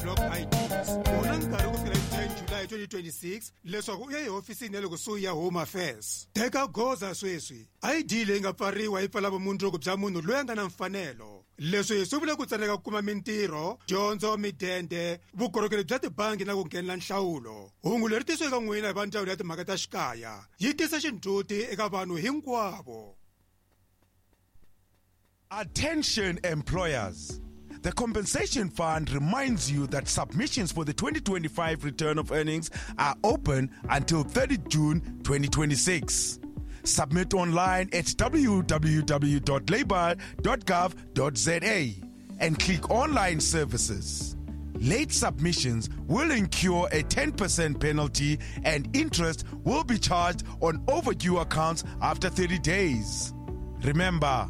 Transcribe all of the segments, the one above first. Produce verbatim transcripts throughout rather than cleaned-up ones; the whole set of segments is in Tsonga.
blocked I Ds. U na nkarhi ku fika hi ten July twenty twenty-six leswaku u ya ehofisini ya le kusuhi ya Home Affairs. Teka goza sweswi. I D leyi nga pfariwa yi pfala vumundzuku bya munhu loyi a nga na mfanelo. Leswi swi vula ku tsandzeka ku kuma mintirho, dyondzo, midende, vukorhokeri bya tibangi na ku nghenela nhlawulo. Hungu leri tisiwe eka n'wina hi va Ndzawulo ya Timhaka ta Xikaya. Yi tisa xindzhuti eka vanhu hinkwavo. Attention, employers. The Compensation Fund reminds you that submissions for the twenty twenty-five return of earnings are open until thirty June twenty twenty-six. Submit online at w w w dot labour dot gov dot z a and click Online Services. Late submissions will incur a ten percent penalty and interest will be charged on overdue accounts after thirty days. Remember,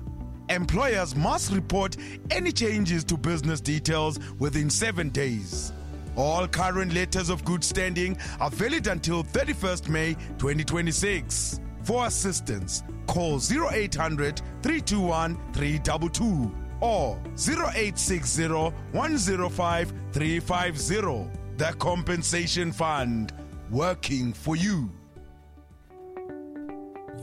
employers must report any changes to business details within seven days. All current letters of good standing are valid until thirty-first May twenty twenty-six. For assistance, call zero eight hundred three two one three two two or zero eight six zero one zero five three five zero. The Compensation Fund, working for you.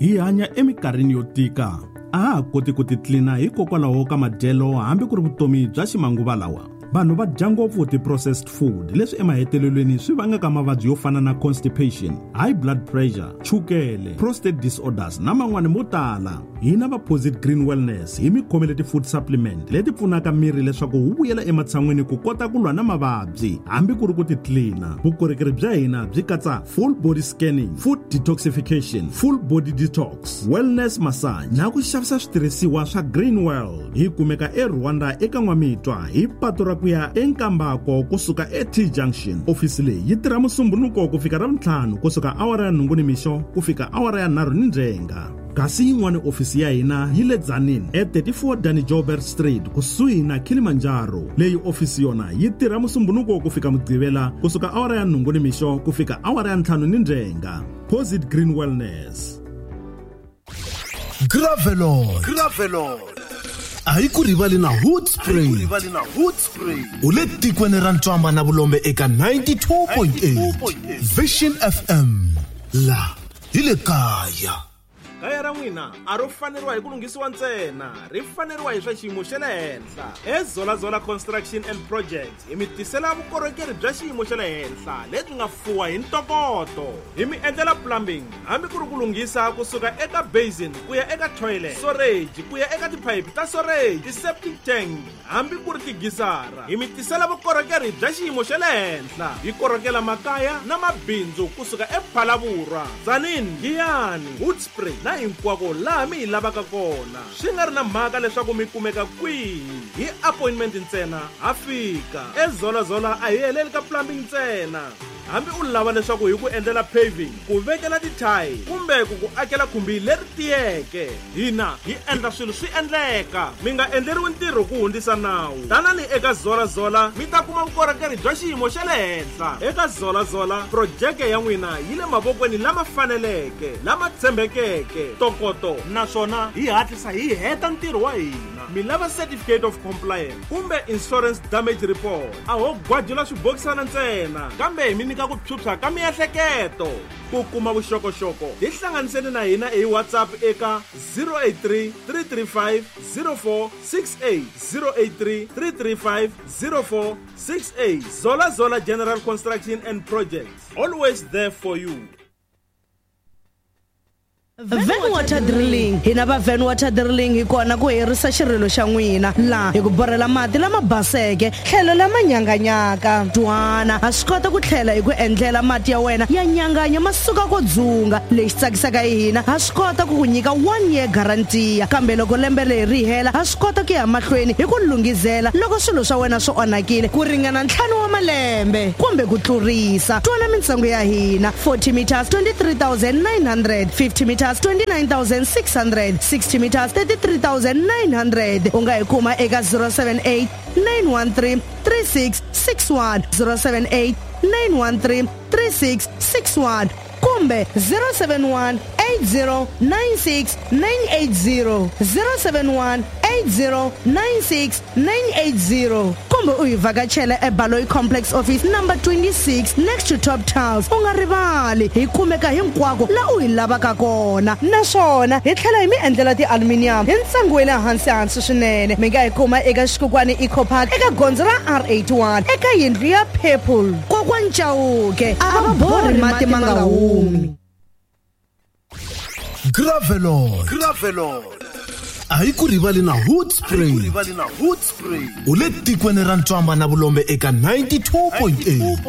Hi hanya eminkarhini yo tika. A ha ha koti ku titlina hikokwalaho ka madyelo hambi ku ri vutomi bya ximanguva lawa. Vanhu va dya ngopfu ti-processed food, leswi emahetelelweni swi vangaka mavabyi yo fana na constipation, high blood pressure, chukele, prostate disorders na man'wani mo tala. Hina va Posit Green Wellness hi mi khomele ti-food supplement leti pfunaka miri leswaku wu vuyela ematshan'wini ku kota ku lwa na mavabyi hambi ku ri ku titlina. Vukorhokeri bya hina byi katsa full body scanning, food detoxification, full body detox, wellness massage na ku xavisa switirhisiwa swa Green World. Hi kumeka eRwanda eka N'wamitwa hi patu ra ku ya eNkambako kusuka e-T Junction. Ofisi leyi yi tirha Musumbunuko ku fika Ravuntlhanu kusuka awara ya nhungu nimixo ku fika awara ya nharhu ni ndzhenga. Kasi yin'wana ofisi ya hina yi le Tzaneen e thirty-four Danny Joubert Street kusuhi na Kilimanjaro. Leyi ofisi yona yi tirha Musumbunuko ku fika Mugqivela kusuka awara ya nhungu nimixo ku fika awara ya ntlhanu ni ndzhenga. Posit Green Wellness. Gravelon. Gravelon. A hi ku rivali na Hoodspring. U le tikweni ra Ntswamba na Vulombe eka ninety-two point eight Vision F M. La hi le kaya. Kaya ra n'wina a ro faneriwa hi ku lunghisiwa ntsena, ri faneriwa hi swa xiyimo xa le henhla. EZolazola Construction and Projects hi mi tisela vukorhokeri bya xiyimo xa le henhla lebyi nga fuwa hi ntokoto. Hi mi endlela plumbing hambi ku ri ku lunghisa kusuka eka basin ku ya eka toilet, storage ku ya eka tiphayiphi ta storage, ti-septic tank hambi ku ri tigisara. Hi mi tisela vukorhokeri bya xiyimo xa le henhla. Hi korhokela makaya na mabindzu kusuka ePhalavurwa, Tzaneen, Giyani, Hoedspruit na hinkwako laha mi hi lavaka kona, swi nga ri na mhaka leswaku mi kumeka kwihi. Hi appointment ntsena ha fika. EZolazola a hi heleli ka plumbing ntsena. Hambi u lava leswaku hi ku endlela paving, ku vekela tithayili kumbe ku ku akela khumbi leri tiyeke, hina hi endla swilo swi endleka. Mi nga endleriwi ntirho ku hundzisa nawu. Tanani eka Zolazola mi ta kuma vukorhokeri bya xiyimo xa le henhla. Eka Zolazola projeke ya n'wina yi le mavokweni lama faneleke, lama tshembekeke, ntokoto, naswona hi hatlisa hi heta ntirho wa hina. Mi lava certificate of compliance kumbe insurance damage report, a ho gwajula swibokisana ntsena kambe hi mi nyika ku phyuphya ka miehleketo. Ku kuma vuxokoxoko tihlanganiseni na hina hi WhatsApp eka zero eight three, three three five, zero four six eight, zero eight three, three three five, zero four six eight. Zola Zola General Construction and Projects, always there for you. Van Water Drilling. Hina va Van Water Drilling hi kona ku herisa xirilo xa n'wina laha hi ku borhela mati lama baseke tlhelo lama nyanganyaka. Twana ha swi kota ku tlhela hi ku endlela mati ya wena ya nyanganya ma suka ko dzunga. Lexi tsakisaka hi hina, ha swi kota ku ku nyika one year guarantee, kambe loko lembe leri ri hela ha swi kota ku ya mahlweni hi ku lunghizela loko swilo swa wena swi onhakile ku ringana ntlhanu wa malembe kumbe ku tlurisa. Twana mintsengo ya hina: forty meters twenty-three thousand nine hundred, fifty meters twenty-nine thousand six hundred, sixty meters thirty-three thousand nine hundred. U nga hi kuma eka zero seven eight, nine one three, three six six one, zero seven eight, nine one three, three six six one kumbe zero seven one, eight zero nine six, nine eight zero, zero seven one, eight zero nine six, nine eight zero kumbe Kumbe u hi vhakachela eBaloyi Complex Office number twenty-six next to Top Tiles. U nga rivali, hi kumeka hinkwako la u hi lavaka kona. Naswona hi tlhela hi mi endlela ti-aluminium hi ntsengo wa le hansi hansi swinene. Mi nga hi kuma eka Xikukwana Eco Park eka gondzo ra R eighty-one eka yindlu ya Purple. Kokwani Chauke a va borhi mati ma nga humi. Gravelon Gravelon a yi ku rivali na Hood Spring. U le tikweni ra Ntswamba na Vulombe eka ninety-two point eight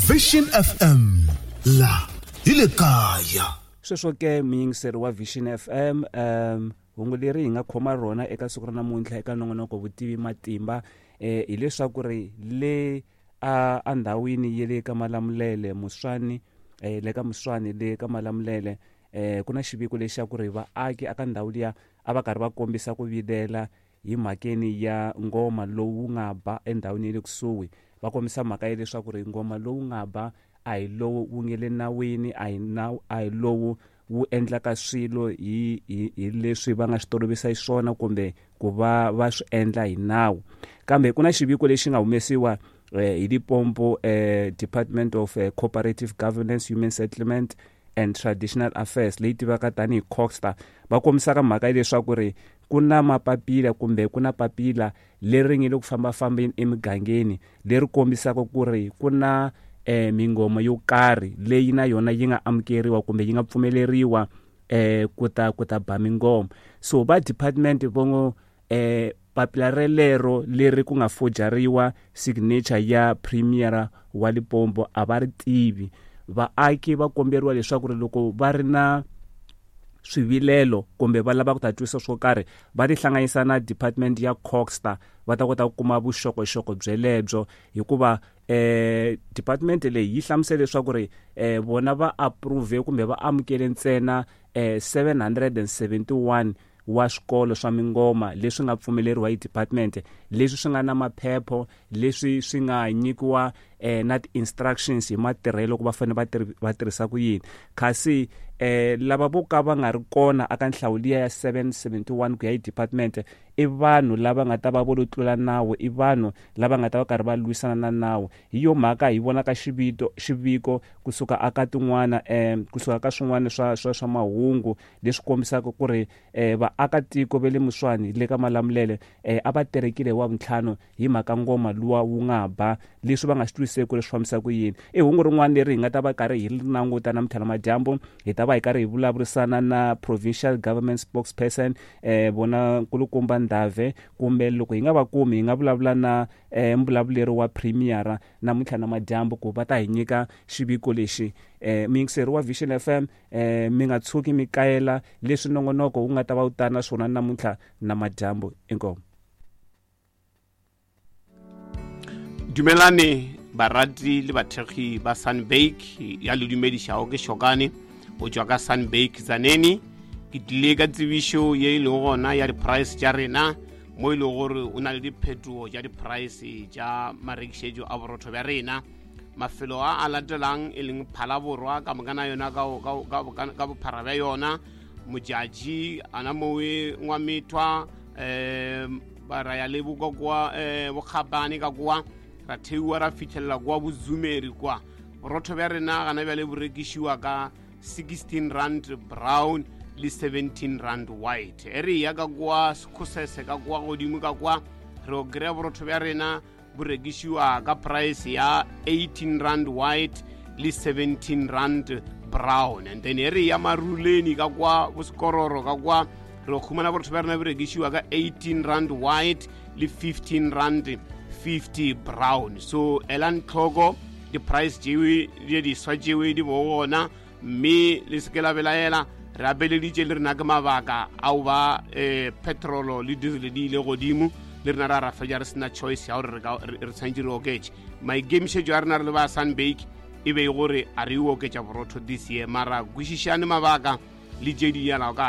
Vision F M la hi le kaya. Sweswo ke muyingiseri wa Vision F M, um hungu leri hi nga khoma rona eka siku ra namuntlha eka nongonoko Vutivi Matimba eh hileswaku ri le a andhawini ya le ka Malamulele Muswani eh le ka Muswani le ka Malamulele eh ku na xiviko lexi xa ku ri vaaki aka ndhawu liya a va karhi va kombisa ku vilela hi mhakeni ya ngoma lowu nga ba endhawini ya le kusuhi. Va kombisa mhaka ya leswaku ri ngoma lowu nga ba a hi lowu wu nge le nawini, a hi nawu, a hi lowu wu endlaka swilo hi hi hi leswi va nga swi tolovisa xiswona kumbe ku va va swi endla hi nawu. Kambe ku na xiviko lexi nga humesiwa eh, hi Limpopo eh, Department of eh, Cooperative Governance, Human Settlement and Traditional Affairs leyi tivaka tanihi COGHSTA. Va kombisaka mhaka ya leswaku ri ku na mapapila kumbe ku na papila leri nge le ku fambafambeni emigangeni leri kombisaka ku ri ku na eh, mingoma yo karhi leyi na yona yi nga amukeriwa kumbe yi nga pfumeleriwa eh, ku ta ku ta ba mingoma. So va department vongo eh, papila relero leri ku nga forgeriwa signature ya premier wa Limpopo a va ri tivi. Vaaki va komberiwa leswaku ri loko va ri na swivilelo kumbe va lava ku ta twisa swo karhi va tihlanganisa na department ya COGHSTA va ta kota ku kuma vuxokoxoko byelebyo, hikuva eh department leyi yi hlamusela leswaku ri eh vona va approve kumbe va amukele ntsena eh seven hundred and seventy-one wa swikolo swa mingoma leswi nga pfumeleriwa hi department, leswi swi nga na maphepho, leswi swi nga nyikiwa eh, na ti-instructions hi matirhelo ku va fanele va va tirhisa ku yini. Kasi eh, lava vo ka va nga ri kona aka nhlawu liya ya seven seventy-one ku ya hi department i vanhu lava nga ta va vo lo tlula nawu, i vanhu lava nga ta va karhi va lwisana na nawu. Hi yo mhaka hi vonaka xivito xiviko kusuka aka tin'wana eh, kusuka ka swin'wana swa swa swa mahungu leswi kombisaka ku ri eh, vaakatiko va le Muswani le ka Malamulele eh, a va terekile hi wavuntlhanu hi mhaka ngoma luwa wu nga ba, leswi va nga swi twiseki ku ri swi fambisa ku yini. I hungu rin'wana leri hi nga ta va karhi hi ri languta namuntlha namadyambu. Hi ta va hi karhi hi vulavurisana na provincial government spokesperson eh, vona Nkulukumba Ndave, kumbe loko hi nga va kumi hi nga vulavula na eh, mbulavuleri wa premier namuntlha namadyambu ku va ta hi nyika xiviko lexi. Eh, muyingiseri wa Vision F M eh, mi nga tshuki mi kayela leswi nongonoko wu nga ta va wu ta na swona namuntlha namadyambu. Inkomu. Dumelane barati le bathekgi ba Sunbake ya le dumedišago ke Shokane o tšwa ka Sunbake Tzaneen. Ke tlile ka tsebišo ye e lego gona ya di-price tša rena mo e lego gore o na le diphetogo tša di-price tša marekišetšo a borotho bja rena. Mafelo a a latelang e leng Phalaborwa ka mokana yona ka bophara bja yona, Modjadji ana mowe Ngwamethwa um ba ra ya le boka kwa um Bokgabane ka kwa ra theiwa ra fitlhelela kwa Bozumeri kwa. Borotho bja rena gana bjale bo rekišiwa ka sixteen rand brown le seventeen rand white. E re ya ka kwa Sekhosese ka kwa godimo ka kwa re o kry-a borotho bja rena bo rekišiwa ka price ya eighteen rand white le seventeen rand brown. And then e re ya Maruleni ka kwa Bosekororo ka kwa re o khumana borotho bja rena bo rekišiwa ka eighteen rand white le fifteen rand fifty brown. So elang tlhoko di-price tšewe di diswa tšewe di bo gona, mme le se ke la belaela. Re abeleditše le rena ke mabaka ao ba um petrolo le diesel di ile godimo, le rena ra ra fetša re sena choice ya gore re tshwanetse re oketše. Maikemišetšo a rena re le ba Sunbake e be e gore a re o oketša borotho this year, mara kwešišane mabaka le tše di yalago ka